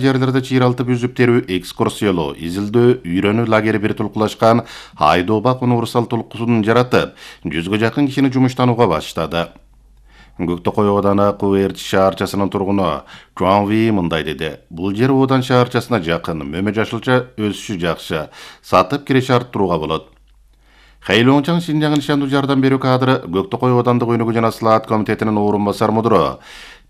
жерлерде чыйралтып үзүп терүү, экскурсиялоо, изилдөө, үйрөнүү лагери бир тулкулашкан Айдообак универсал толкусун жаратып, 100га жакын кишини жумуштанууга баштады. Көктөкөй ооданы Куверч шаарчасынын тургуну Чуанви мындай деди. Бул жер Одан шаарчасына жакын, мөмө жашылча өсүшү жакшы, сатып киреше арттырууга болот. Хэйлоңчаң Шинжаң нишандуу жардам берүү кадры Көктөкөй оодандык өнүгүү жана слаат комитетинин орун басар мудуру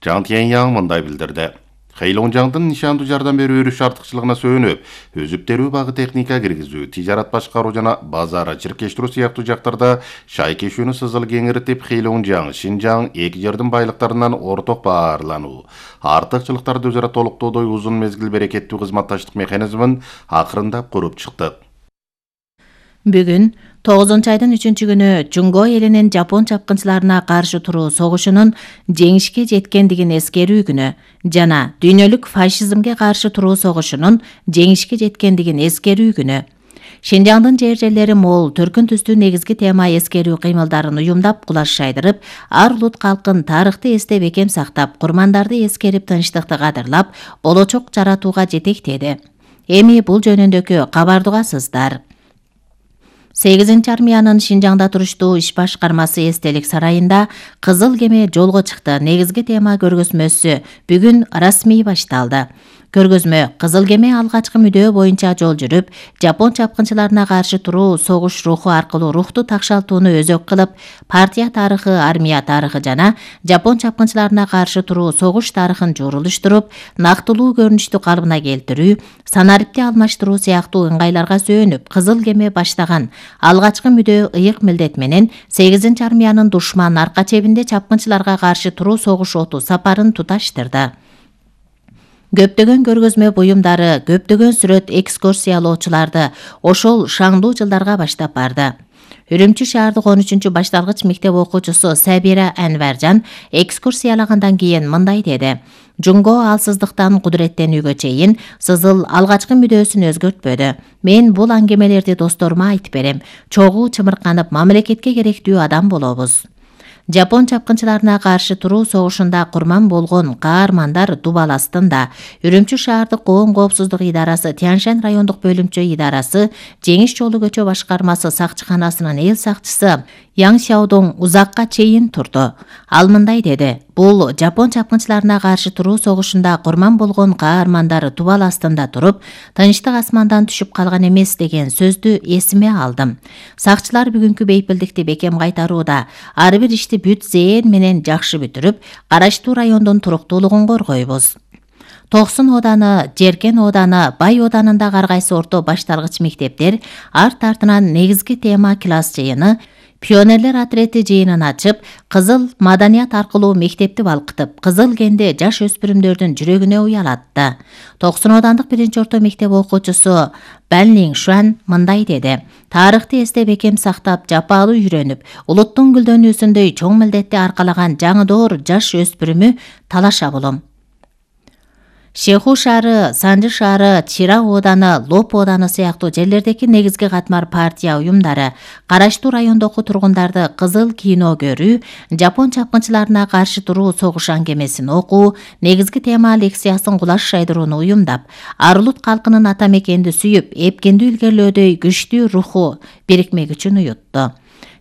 Жан Тяньяң мындай билдирди. Хэйлоңчаңдын нишандуу жардам берүү өрүш артыкчылыгына сөөнүп, өзүп терүү багы техника киргизүү, тижарат башкаруу жана базар чиркештирүү сыяктуу жактарда шайкешүүнү сызыл кеңиртип, Хэйлоңчаң, Шинжаң эки жердин байлыктарынан орток баарлануу, артыкчылыктарды өзара толуктоодой узун мезгил берекеттүү кызматташтык механизмин акырындап куруп чыктык. Бүгүн 9-айдын 3-күнү Жунго элинин Жапон чапкынчыларына каршы туруу согушунун жеңишке жеткендигин эскерүү күнү жана дүйнөлүк фашизмге каршы туруу согушунун жеңишке жеткендигин эскерүү күнү. Шинжаңдын жер-жерлери мол, төркүн түстүү негизги тема эскерүү кыймылдарын уюмдап, кулаш шайдырып, ар улут калкын тарыхты эстеп экем сактап, курмандарды эскерип, тынчтыкты кадырлап, болочок жаратууга жетектеди. Эми бул жөнүндөгү кабарды угасыздар. 8 армиянын Шинжаңда туруштуу иш башкармасы эстелик сарайында Кызыл кеме жолго чыкты. Негизги тема көргөзмөсү бүгүн расмий башталды. Көргөзмө Кызыл кеме алгачкы мүдөө боюнча жол жүрүп, Жапон чапкынчыларына каршы туруу согуш руху аркылуу рухту такшалтууну өзөк кылып, партия тарыхы, армия тарыхы жана Жапон чапкынчыларына каршы туруу согуш тарыхын журулуштуруп, нактылуу көрүнүштү калыбына келтирүү, санарипти алмаштыруу сыяктуу ыңгайларга сөөнүп, Кызыл кеме баштаган алгачкы мүдөө ыйык милдет менен 8 армиянын душман арка чебинде чапкынчыларга каршы туруу согуш оту сапарын туташтырды. Көптөгөн көргөзмө буюмдары, көптөгөн сүрөт экскурсиялоочуларды ошол шаңдуу жылдарга баштап барды. Үрүмчү шаардык 13 башталгыч мектеп окуучусу Сабира Анваржан экскурсиялагандан кийин мындай деди. Жунго алсыздыктан кудуреттенүүгө чейин сызыл алгачкы мүдөөсүн өзгөртпөдү. Мен бул аңгемелерди досторума айтып берем. Чогуу чымырканып, мамлекетке керектүү адам болобуз. Жапон чапкынчыларына каршы туруу согушунда курман болгон каармандар дубал астында. Үрүмчү шаардык коом коопсуздук идарасы, Тяньшань райондук бөлүмчө идарасы, Жеңиш жолу көчө башкармасы сакчыканасынын эл сакчысы Яң Сяодоң узакка чейин турду. Ал мындай деди. Бул Жапон чапкынчыларына каршы туруу согушунда курман болгон каармандар дубал астында туруп, тынчтык асмандан түшүп калган эмес деген сөздү эсиме алдым. Сакчылар бүгүнкү бейпилдикти бекем кайтарууда, ар бир ишти бүт зээн менен жакшы бүтүрүп, караштуу райондун туруктуулугун коргойбуз. Токсон ооданы, Жеркен ооданы, Бай оодарында ар кайсы орто башталгыч мектептер арт артынан негизги тема класс жыйыны, пионерлер отрети жыйынын ачып, кызыл маданият аркылуу мектепти балкытып, кызыл кенде жаш өспүрүмдөрдүн жүрөгүнө уялатты. Токсон оодандык 1-орто мектеп окуучусу Банлин Шуан мындай деди. Тарыхты эстеп экем сактап, жапалуу үйрөнүп, улуттун гүлдөнүүсүндөй чоң милдетти аркалаган жаңы жаш өспүрүмү талаша болом. Шеху шаары, Санжы шаары, Чира ооданы, Лоп ооданы сыяктуу жерлердеги негизги катмар партия уюмдары караштуу райондогу тургундарды кызыл кино көрүү, Жапон чапкынчыларына каршы туруу согуш аңгемесин окуу, негизги тема лекциясын кулаш шайдырууну уюмдап, ар улут калкынын ата мекенди сүйүп, эпкендүү илгерлөөдөй күчтүү руху, бирикме күчүн уютту.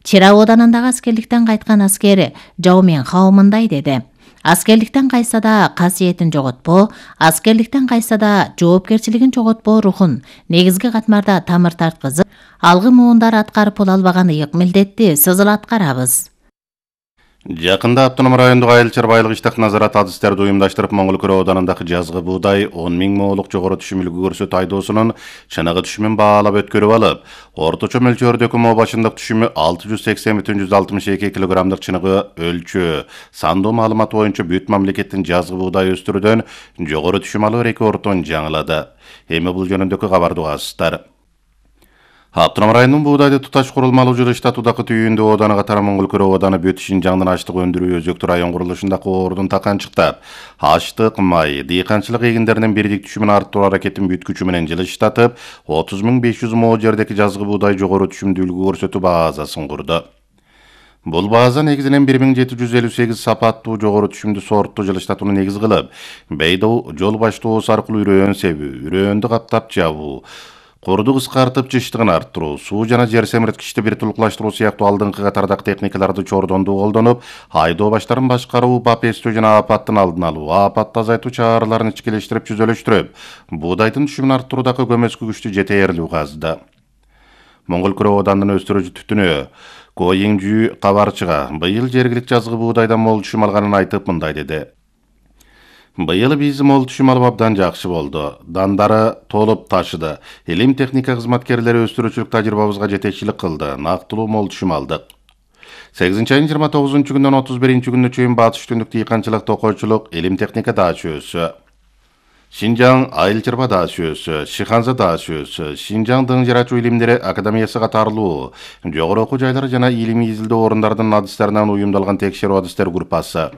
Чира оодарындагы аскерликтен кайткан аскери Жау Мен Хао мындай деди. Аскерликтен кайса да касиетин жоготпо, аскерликтен кайса да жоопкерчилигин жоготпо рухун негизги катмарда тамыр тарткызып, алгы муундар аткарып боло албаган ыйык милдетти сызыл аткарабыз. Жакында автоном райондук айыл чарбайлык иштак назарат адистерди уюмдаштырып, Моңголкөл оодарындагы жазгы буудай 10 000 моолук жогору түшүм үлгү көрсөт айдоосунун чыныгы түшүмүн баалап өткөрүп алып, орточо мөлчөрдөгү моо башындык түшүмү 680-162 килограммдык чыныгы өлчөө сандуу маалыматы боюнча бүт мамлекеттин жазгы буудай өстүрүүдөн жогору түшүм алуу рекордун жаңылады. Эми бул жөнүндөгү кабарды угасыздар. Автоном районунун буудайды туташ курулмалуу жылыштатуудагы түйүндө ооданы катары Моңголкөл ооданы бүт Шинжаңдын аштык өндүрүү өзөктүү район курулушундагы ордун таканчыктап, аштык, май, дыйканчылык эгиндеринин бирдик түшүмүн арттыруу аракетин бүт күчү менен жылыштатып, 30 500 moo жердеги жазгы буудай жогору түшүмдүү үлгү көрсөтүү базасын курду. Бул база негизинен 1758 сапаттуу жогору түшүмдүү сортту жылыштатууну негиз кылып, бейдо жол баштоосу аркылуу үрөөн себүү, үрөөндү каптап жабуу, курду кыскартып жыштыгын арттыруу, суу жана жер семирткичти бир тулуклаштыруу сыяктуу алдыңкы катардагы техникаларды чордондуу колдонуп, айдоо баштарын башкаруу, бап эстөө жана апаттын алдын алуу, апатты азайтуу чараларын ичкилештирип жүзөлөштүрүп, буудайдын түшүмүн арттыруудагы көмөскү күчтү жетээрлүү казды. Моңгол Күрөө Оодандын өстүрүүчү түтүнү Коиңжүү кабарчыга быйыл жергиликтүү жазгы буудайдан мол түшүм алганын айтып мындай деди. Быйыл биз мол түшүм алып абдан жакшы болду. Дандары толуп ташыды. Илим техника кызматкерлери өстүрүүчүлүк тажрыйбабызга жетекчилик кылды. Нактылуу мол түшүм алдык. 8-айдын 29-күнүнөн 31-күнүнө чейин батыш түндүк дыйканчылык, токойчулук, илим техника дач өсү. Шинжаң айыл чырба дач өсү, Шиханза дач өсү, Шинжаң дың жарачуу илимдери академиясы катарлуу, жогору окуу жайлары жана илимий изилдөө орундардын адистеринен уюмдалган текшерүү адистер группасы.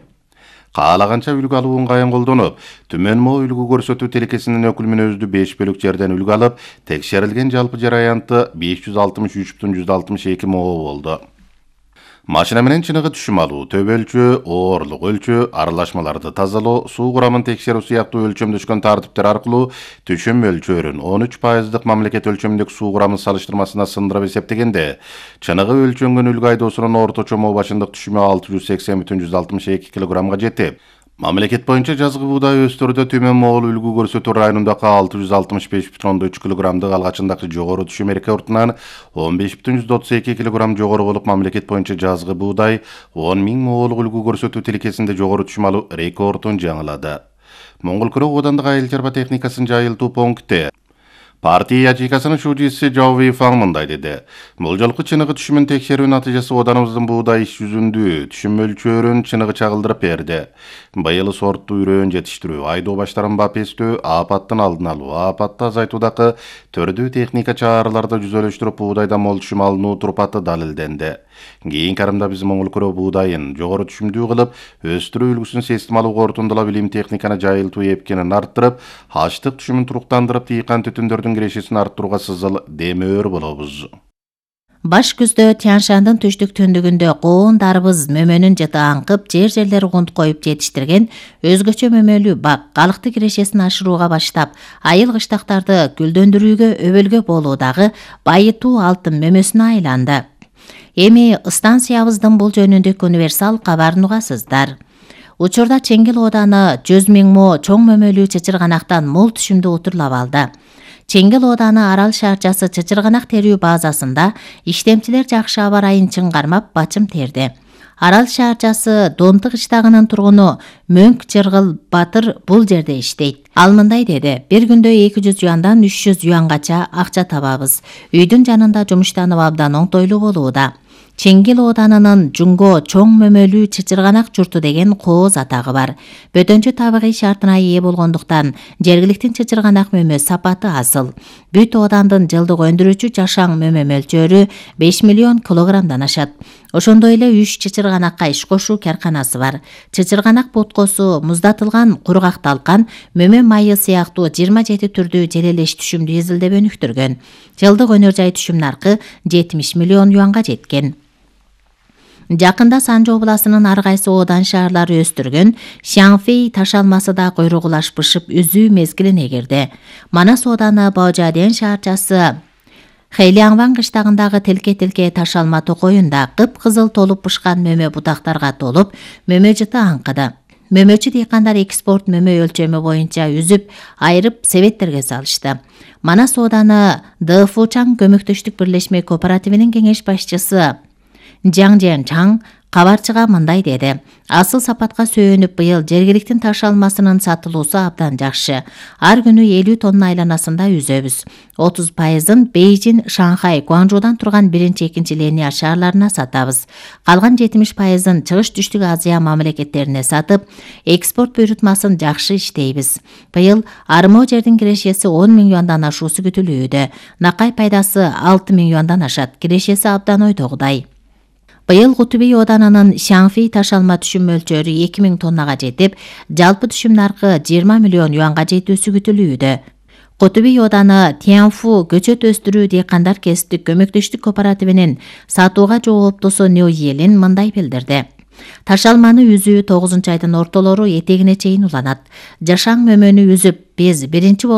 Каалаганча үлгү алуу ыңгайын колдонуп, Түмөн мо үлгү көрсөтүү телекесинин өкүлмүнөздүү 5 бөлүк жерден үлгү алып, текшерилген жалпы жер аянты 563,162 мо болду. Машина менен чыныгы түшүм алуу, төбө өлчөө, оорлук өлчөө, аралашмаларды тазалоо, суу курамын текшерүү сыяктуу өлчөмдөшкөн тартиптер аркылуу түшүм өлчөөрүн 13%дык мамлекет өлчөмүндөгү суу курамын салыштырмасына сындырып эсептегенде, чыныгы өлчөнгөн үлгү айдоосунун орточо мо башындык түшүмү 680,162 кг жетип, мамлекет боюнча жазгы буудай өстөрдө Түмөн Моол үлгү көрсөтүү районундагы 665,3 кг алгачындагы жогору түшүм рекордунан 15,32 кг жогору болуп, мамлекет боюнча жазгы буудай 10.000 моолук үлгү көрсөтүү тилкесинде жогору түшүм алуу рекордун жаңылады. Моңгол Күрөө Оодандык айыл чарба техникасын жайылтуу пункти партия ячейкасынын шужиси Жау Вейфаң мындай деди. Бул жолку чыныгы түшүмүн текшерүү натыйжасы оданыбыздын буудай иш жүзүндүү түшүм өлчөөрүн чыныгы чагылдырып берди. Быйыл сорттуу үрөөн жетиштирүү, айдоо баштарын бап эстөө, апаттын алдын алуу, апатты азайтуудагы төрдүү техника чараларды жүзөлөштүрүп, буудайдан мол түшүм алынуу турпаты далилденди. Кийинки арымда биз Моңгол Күрөө буудайын жогору түшүмдүү кылып, өстүрүү үлгүсүн системалуу кортундулап, илим техниканы жайылтуу эпкенин арттырып, аштык түшүмүн туруктандырып, дыйкан түтүндөрдүн кирешесин арттырууга сызыл демөөр болобуз. Баш күздө Тянь-Шандын түштүк түндүгүндө коон дарбыз мөмөнүн жыты аңкып, жер-жерлер кунт коюп жетиштирген өзгөчө мөмөлүү бак калыкты кирешесин ашырууга баштап, айыл кыштактарды гүлдөндүрүүгө өбөлгө болуудагы байытуу алтын мөмөсүнө айланды. Эми станциябыздын бул жөнүндөгү универсал кабарын угасыздар. Учурда Чеңгел Ооданы 100.000 мо чоң мөмөлүү чычырганактан мол түшүмдү утурлап алды. Чеңгел Ооданы Арал шаарчасы чычырганак терүү базасында иштемчилер жакшы аба ырайын чыңгармап бачым терди. Арал шаарчасы Донтук кыштагынын тургуну Мөңк Жыргыл Батыр бул жерде иштейт. Ал мындай деди: бир күндө 200 юандан 300 юангача акча табабыз. Үйдүн жанында жумуштанып абдан оңтойлуу болууда. Чеңгел Ооданынын Жунго чоң мөмөлүү чычырганак журту деген кооз атагы бар. Бөтөнчө табигый шартына ээ болгондуктан жергиликтин чычырганак мөмө сапаты асыл. Бүт Оодандын жылдык өндүрүүчү жашаң мөмө мөлчөрү 5 миллион килограммдан ашат. Ошондой эле 3 чычырганакка иш кошуу карканасы бар. Чычырганак боткосу, муздатылган кургак талкан, мөмө майы сыяктуу 27 түрдүү желелеш түшүмдү изилдеп өнүктүргөн. Жылдык өнөр жай түшүм наркы 70 миллион юанга жеткен. Жакында Санжы областынын ар кайсы оодан шаарлары өстүргөн Шаңфей таш алмасы да койругулаш бышып үзүү мезгилине кирди. Манас ооданы Баожаден шаарчасы Хэйлиаңван кыштагындагы тилке-тилке таш алма токоюнда кып-кызыл толуп бышкан мөмө бутактарга толуп, мөмө жыты аңкыды. Мөмөчү дыйкандар экспорт мөмө өлчөмү боюнча үзүп, айырып себеттерге салышты. Манас ооданы ДФУ-Чаң көмөктөштүк бирлешме кооперативинин кеңеш башчысы Жаң Чаң кабарчыга мындай деди: асыл сапатка сүйөнүп, быйыл жергиликтин таш алмасынын сатылуусу абдан жакшы. Ар күнү 50 тонна айланасында үзөбүз. 30%-ын Бейжин, Шанхай, Гуанчжоудан турган 1-2 линия шаарларына сатабыз. Калган 70%-ын Чыгыш Түштүк Азия мамлекеттерине сатып, экспорт буйрутмасын жакшы иштейбиз. Быйыл армоо жердин кирешеси 10.000 юандан ашуусу күтүлүүдө. Накай пайдасы 6.000 юандан ашат. Кирешеси абдан ойдогудай. Быйыл Кутубей Ооданынын Шаңфей таш алма түшүм мөлчөрү 2000 тоннага жетип, жалпы түшүм наркы 20 миллион юанга жетүүсү күтүлүүдө. Котуби Оданы Тянфу көчөт өстүрүү дыйкандар кесиптик көмөктөштүк кооперативинин сатууга жооптусу Ню Елин мындай билдирди. Таш алманы үзүү 9 айдын ортолору этегине чейин уланат. Жашаң мөмөнү үзүп, биз биринчи болуп